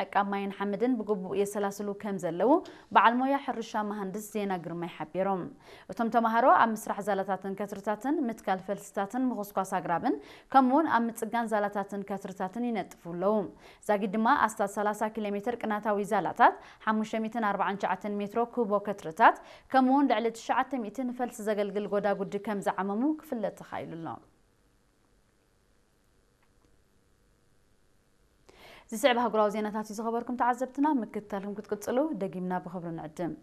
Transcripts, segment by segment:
ዕቃብ ማይን ሓመድን ብግቡእ የሰላስሉ ከም ዘለዉ በዓል ሞያ ሕርሻ መሃንድስ ዜና ግርማይ ሓቢሮም። እቶም ተምሃሮ ኣብ ምስራሕ ዛላታትን ከትርታትን፣ ምትካል ፈልስታትን ምኹስኳስ ኣግራብን ከምኡውን ኣብ ምጽጋን ዛላታትን ከትርታትን ይነጥፉ ኣለዉ። ዛጊድ ድማ ኣስታት ሰላሳ ኪሎ ሜትር ቅናታዊ ዛላታት፣ ሓሙሽተ ሚእትን ኣርባዓን ትሽዓተን ሜትሮ ኩቦ ከትርታት ከምኡውን ልዕሊ ትሽዓተ ሚእቲ ንፈልሲ ዘገልግል ጎዳጉዲ ከም ዝዓመሙ ክፍለጥ ተኻኢሉ ኣሎ። ዝስዕብ ኣህጉራዊ ዜናታት እዩ ዝኸበርኩም ተዓዘብትና፣ ምክትታልኩም ክትቅጽሉ ደጊምና ብኽብሪ ንዕድም።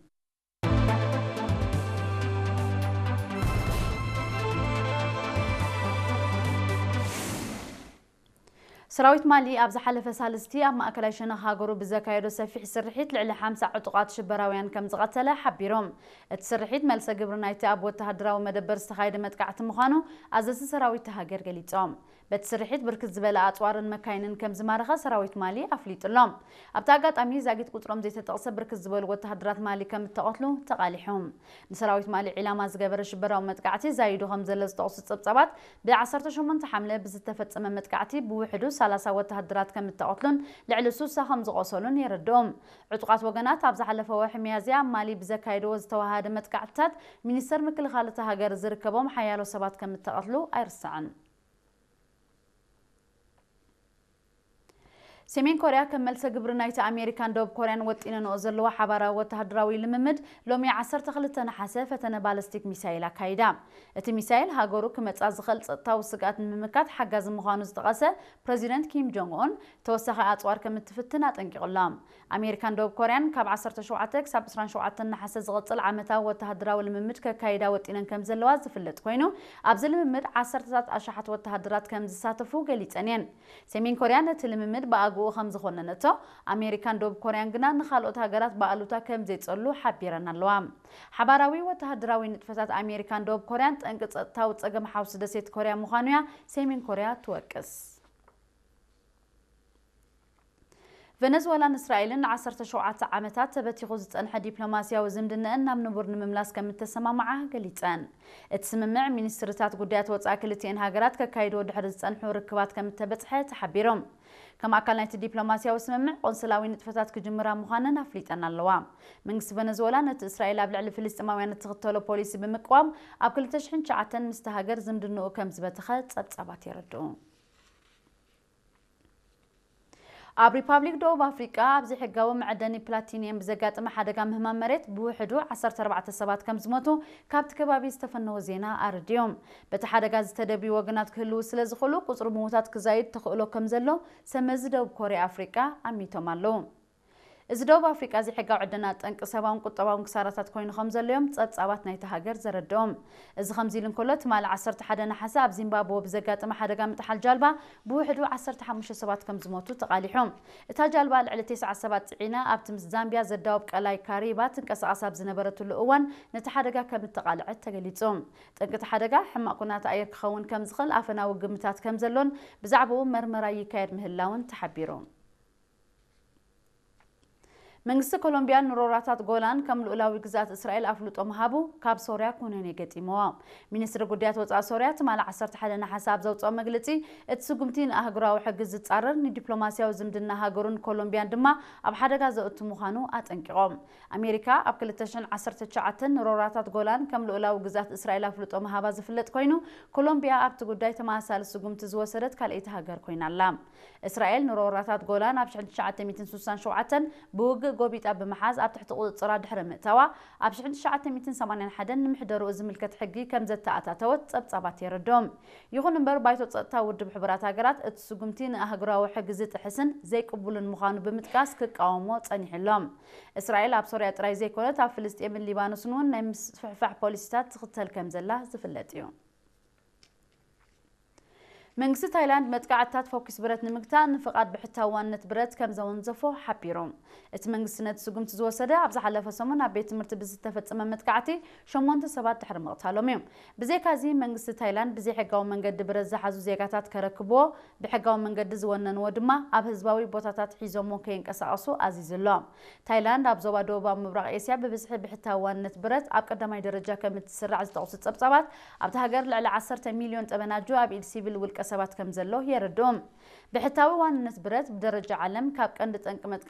ሰራዊት ማሊ ኣብ ዝሓለፈ ሳልስቲ ኣብ ማእከላይ ሸነኽ ሃገሩ ብዘካየዶ ሰፊሕ ስርሒት ልዕሊ ሓምሳ ዕጡቓት ሽበራውያን ከም ዝቐተለ ሓቢሮም። እቲ ስርሒት መልሰ ግብሪ ናይቲ ኣብ ወተሃደራዊ መደበር ዝተኻየደ መጥቃዕቲ ምዃኑ ኣዘዝቲ ሰራዊት እታ ሃገር ገሊጾም። በቲ ስርሒት ብርክት ዝበለ ኣጽዋርን መካይንን ከም ዝማረኸ ሰራዊት ማሊ ኣፍሊጡ ኣሎ። ኣብቲ ኣጋጣሚ ዛጊት ቁጽሮም ዘይተጠቕሰ ብርክት ዝበሉ ወተሃደራት ማሊ ከም እተቐትሉ ተቓሊሑ። ንሰራዊት ማሊ ዒላማ ዝገበረ ሽበራዊ መጥቃዕቲ ዛይዱ ከም ዘሎ ዝጠቕሱ ጸብጻባት፣ ብዓሰርተ ሸሞንተ ሓምለ ብዝተፈጸመ መጥቃዕቲ ብውሕዱ ሰላሳ ወተሃደራት ከም እተቐትሉን ልዕሊ ስሳ ከም ዝቖሰሉን የረድኡ። ዕጡቓት ወገናት ኣብ ዝሓለፈ ወርሒ ሚያዝያ ኣብ ማሊ ብዘካየድዎ ዝተወሃሃደ መጥቃዕትታት ሚኒስተር ምክልኻል እታ ሃገር ዝርከቦም ሓያሎ ሰባት ከም እተቐትሉ ኣይርሳዕን። ሰሜን ኮርያ ከም መልሰ ግብሪ ናይቲ ኣሜሪካን ደቡብ ኮርያን ወጢነንኦ ዘለዋ ሓባራዊ ወተሃደራዊ ልምምድ ሎሚ ዓሰርተ ክልተ ነሓሰ ፈተነ ባለስቲክ ሚሳይል ኣካይዳ። እቲ ሚሳይል ሃገሩ ክመጻ ዝኽእል ጸጥታዊ ስግኣት ንምምካት ሓጋዚ ምዃኑ ዝጠቐሰ ፕረዚደንት ኪም ጆንግ ኡን ተወሳኺ ኣጽዋር ከም እትፍትን ኣጠንቂቑ ኣሎ። ኣሜሪካን ደቡብ ኮርያን ካብ ዓሰርተ ሸውዓተ ክሳብ ዕስራን ሸውዓተን ነሓሰ ዝቕጽል ዓመታዊ ወተሃደራዊ ልምምድ ከካይዳ ወጢነን ከም ዘለዋ ዝፍለጥ ኮይኑ፣ ኣብዚ ልምምድ ዓሰርተታት ኣሽሓት ወተሃደራት ከም ዝሳተፉ ገሊጸን እየን። ሰሜን ኮርያ ነቲ ልምምድ ብኣግኡ ከም ዝኾነነቶ፣ ኣሜሪካን ደቡብ ኮርያን ግና ንኻልኦት ሃገራት ብኣሉታ ከም ዘይጸሉ ሓቢረን ኣለዋ። ሓባራዊ ወተሃደራዊ ንጥፈታት ኣሜሪካን ደቡብ ኮርያን ጠንቂ ጸጥታዊ ጸገም ሓውሲ ደሴት ኮርያ ምዃኑ እያ ሰሜን ኮርያ ትወቅስ። ቨነዝወላን እስራኤልን ንዓሰርተ ሸውዓተ ዓመታት ተበቲኹ ዝጸንሐ ዲፕሎማስያዊ ዝምድነአን ናብ ንቡር ንምምላስ ከም እተሰማምዓ ገሊጸን። እቲ ስምምዕ ሚኒስትርታት ጉዳያት ወጻኢ ክልቲኤን ሃገራት ከካይድዎ ድሕሪ ዝጸንሑ ርክባት ከም እተበጽሐ ተሓቢሮም። ከም ኣካል ናይቲ ዲፕሎማስያዊ ስምምዕ ቆንስላዊ ንጥፈታት ክጅምራ ምዃነን ኣፍሊጠን ኣለዋ። መንግስቲ ቨነዝወላ ነቲ እስራኤል ኣብ ልዕሊ ፍልስጤማውያን እትኽተሎ ፖሊሲ ብምቅዋም ኣብ ክልተ ሽሕን ትሽዓተን ምስቲ ሃገር ዝምድንኡ ከም ዝበተኸ ጸብጻባት የረድኡ። ኣብ ሪፓብሊክ ደቡብ ኣፍሪቃ ኣብ ዘይሕጋዊ መዐደኒ ፕላቲኒየም ብዘጋጠመ ሓደጋ ምህማም መሬት ብውሕዱ ዓሰርተ ኣርባዕተ ሰባት ከም ዝሞቱ ካብቲ ከባቢ ዝተፈነወ ዜና ኣረድዮም። በቲ ሓደጋ ዝተደብዩ ወገናት ክህልዉ ስለ ዝኽእሉ ቁጽሪ ምዉታት ክዛይድ ተኽእሎ ከም ዘሎ ሰብ መዚ ደቡብ ኮርያ ኣፍሪቃ ኣሚቶም ኣለዉ። እዚ ደቡብ ኣፍሪቃ ዘይሕጋዊ ዕደና ጠንቂ ሰብኣውን ቁጠባውን ክሳራታት ኮይኑ ከም ዘሎ እዮም ጸብጻባት ናይቲ ሃገር ዘረድኦም። እዚ ከምዚ ኢሉ እንከሎ፣ ትማሊ ዓሰርተ ሓደ ነሓሰ ኣብ ዚምባብወ ብዘጋጠመ ሓደጋ ምጥሓል ጃልባ ብውሕዱ ዓሰርተ ሓሙሽተ ሰባት ከም ዝሞቱ ተቓሊሑ። እታ ጃልባ ልዕሊ ተስዓ ሰባት ጽዒና ኣብቲ ምስ ዛምቢያ ዘዳውብ ቀላይ ካሪባ ትንቀሳቐስ ኣብ ዝነበረትሉ እዋን ነቲ ሓደጋ ከም እተቓልዐት ተገሊጹ። ጠንቂ እቲ ሓደጋ ሕማቕ ኩነታት ኣየር ክኸውን ከም ዝኽእል ኣፈናዊ ግምታት ከም ዘሎን ብዛዕባኡ መርመራ ይካየድ ምህላውን ተሓቢሩ። መንግስቲ ኮሎምቢያ ንሮራታት ጎላን ከም ልኡላዊ ግዝኣት እስራኤል ኣፍልጦ ምሃቡ ካብ ሶርያ ኩነኔ ገጢምዎ። ሚኒስትሪ ጉዳያት ወጻኢ ሶርያ ትማሊ ዓሰርተ ሓደ ነሓሰ ኣብ ዘውጽኦ መግለጺ፣ እቲ ስጉምቲ ንኣህጉራዊ ሕጊ ዝጻረር፣ ንዲፕሎማስያዊ ዝምድና ሃገሩን ኮሎምቢያን ድማ ኣብ ሓደጋ ዘእቱ ምዃኑ ኣጠንቂቖም። ኣሜሪካ ኣብ ክልተ ሽሕን ዓሰርተ ትሽዓተን ንሮራታት ጎላን ከም ልኡላዊ ግዝኣት እስራኤል ኣፍልጦ ምሃባ ዝፍለጥ ኮይኑ፣ ኮሎምቢያ ኣብቲ ጉዳይ ተመሳሳሊ ስጉምቲ ዝወሰደት ካልኣይቲ ሃገር ኮይና ኣላ። እስራኤል ንሮራታት ጎላን ኣብ ሽሕን ትሽዓተ ሚእትን ስሳን ሸውዓተን ብውግእ ጎቢጣ ብምሓዝ ኣብ ትሕቲ ቁጽጽራ ድሕሪ ምእታዋ፣ ኣብ ሽሕን ትሽዓተ ሚእትን ሰማንያን ሓደን ንምሕደርኡ ዝምልከት ሕጊ ከም ዘተኣታተወት ጸብጻባት የረድኦም። ይኹን እምበር፣ ባይቶ ጸጥታ ውድብ ሕቡራት ሃገራት እቲ ስጉምቲ ንኣህጉራዊ ሕጊ ዝጥሕስን ዘይቅቡልን ምዃኑ ብምጥቃስ ክቃወሞ ጸኒሑ ኣሎ። እስራኤል ኣብ ሶርያ ጥራይ ዘይኮነት፣ ኣብ ፍልስጤምን ሊባኖስን እውን ናይ ምስፍሕፋሕ ፖሊሲታት ትኽተል ከም ዘላ ዝፍለጥ እዩ። መንግስቲ ታይላንድ መጥቃዕትታት ፈኲስ ብረት ንምግታእ ንፍቓድ ብሕታዊ ዋንነት ብረት ከም ዘወንዘፎ ሓቢሩ። እቲ መንግስቲ ነቲ ስጉምቲ ዝወሰደ ኣብ ዝሓለፈ ሰሙን ኣብ ቤት ትምህርቲ ብዝተፈጸመ መጥቃዕቲ ሸሞንተ ሰባት ድሕሪ ምቕታሎም እዩ። ብዘይካዚ መንግስቲ ታይላንድ ብዘይሕጋዊ መንገዲ ብረት ዝሓዙ ዜጋታት ከረክብዎ፣ ብሕጋዊ መንገዲ ዝወነንዎ ድማ ኣብ ህዝባዊ ቦታታት ሒዞሞ ከይንቀሳቐሱ ኣዚዙ ኣሎ። ታይላንድ ኣብ ዞባ ደቡባዊ ምብራቕ ኤስያ ብብዝሒ ብሕታዊ ዋንነት ብረት ኣብ ቀዳማይ ደረጃ ከም እትስራዕ ዝጠቕሱ ጸብጻባት፣ ኣብታ ሃገር ልዕሊ ዓሰርተ ሚልዮን ጠበናጁ ኣብ ኢድ ሲቪል ውልቀ ሰባት ከም ዘሎ የረድኡ። ብሕታዊ ዋንነት ብረት ብደረጃ ዓለም ካብ ቀንዲ ጠንቂ መጥቃዕቲ